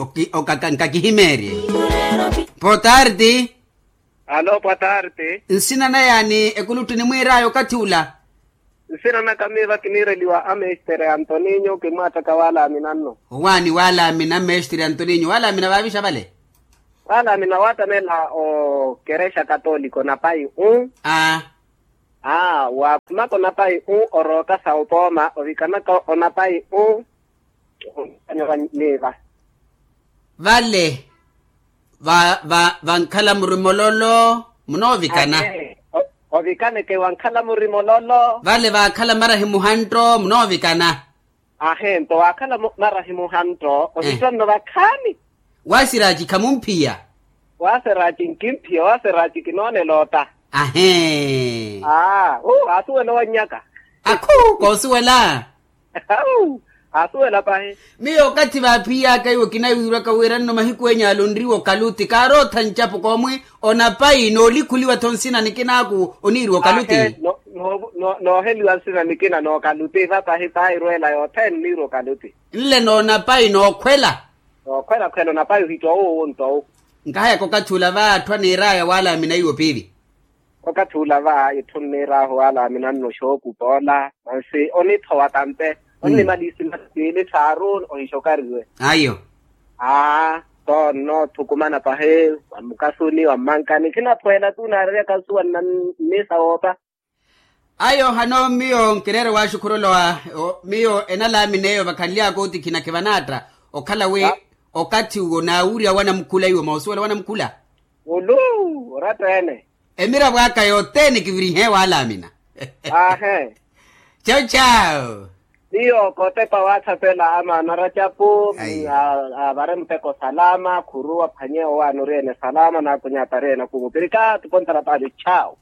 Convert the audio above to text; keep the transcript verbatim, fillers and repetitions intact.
Oki- okaka nkakihimeerye. Potarti. Alo potarti. Nsina na yaani ekulutti nimwiir'aya okathi ula? Nsina naka miiva kiniireliwa amestere antoninyo kimwaattaka waalaamina nno. Owaani waalaamina mestere antoninyo waalaamina vaavixa vale? Waalaamina waattamela okerexa katoliko napayi u. Aa. Aa waakhumaka onapayi u orooka sa opooma ovikanaka onapayi u. Niiva. Vale vankhala murimololo munoovikana. Ovikaneke wankhala murimololo. Vale vaakhala marahi muhanto munoovikana. Ahe nto waakhala marahi muhanto ohittwa nno vakhaani. Waasiraaci khamumphiya. Waasiraaci nkimphiya waasiraaci kinoonela ota. Ahe. Aa asuwela owannyaka. Akhu koosuwela. Au asuwela pahi. Miyo okathi vaaphiyaaka iwo kinawiirwaka wira nno mahiku enyu ale onriwa okaluti kaarootha ncapo koomwi onapayi noolikhuliwa-tho nsina nikinaaku oniiriwa okaluti. Nooheliwa nsina nikina nookaluti va pahi pairweela yothene oniiriwa okaluti. Nle noonapayi nookhwela. Nookhwelakhwela onapayi ohittwa owo owo nto owo. Nkahayaka okathi ula va atthu aniir'aya waalaamina iwo piili. Okathi ula va itthu nniir'ahu waalaamina nno xookupa ola mansi onithowa tampe. Onnimaliisi masi piili thaaru ohixokariwe. Ayo. Aa. Toonno thukumana pahi wa mukasuni wa mmankani khinaphweela tunaarerya kansuwa nnisa woopa. Ayo hano miyo nkireere waaxukhurolowa. Miyo enalaamina eyo vakhanly'aka otikhina khivanaatta okhala wi okathi uwo naawurya wanamukhula iwo moosuwela wanamukhula. Ulu oratta-ene. Emiravo aka yothene kivirihe waalaamina. Ahe. Chau chau. Miyo kootepa waathapela amaana aracapu avare muteko salama khuru aphwanye owaana ori-ene salama naakunyaata ari-ene akhumu pirikatu pontara paali chau.